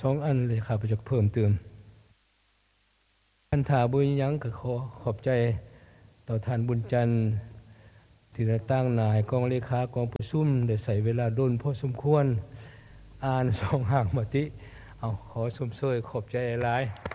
ສອງອັນເລີຍ ຂ້າພະເຈົ້າເພີ່ມຕື່ມ. ຄັນຖ້າບໍ່ມີຫຍັງ ກໍຂໍຂອບໃຈຕໍ່ທ່ານບຸນຈັນ ທີ່ໄດ້ຕາງໜ້າໃຫ້ກອງເລຂາກອງປະຊຸມ ໄດ້ໃຊ້ເວລາດົນພໍສົມຄວນ ອ່ານສອງຮ່າງມະຕິ. ເອົາ ຂໍຊົມເຊີຍ ຂອບໃຈຫຼາຍໆ.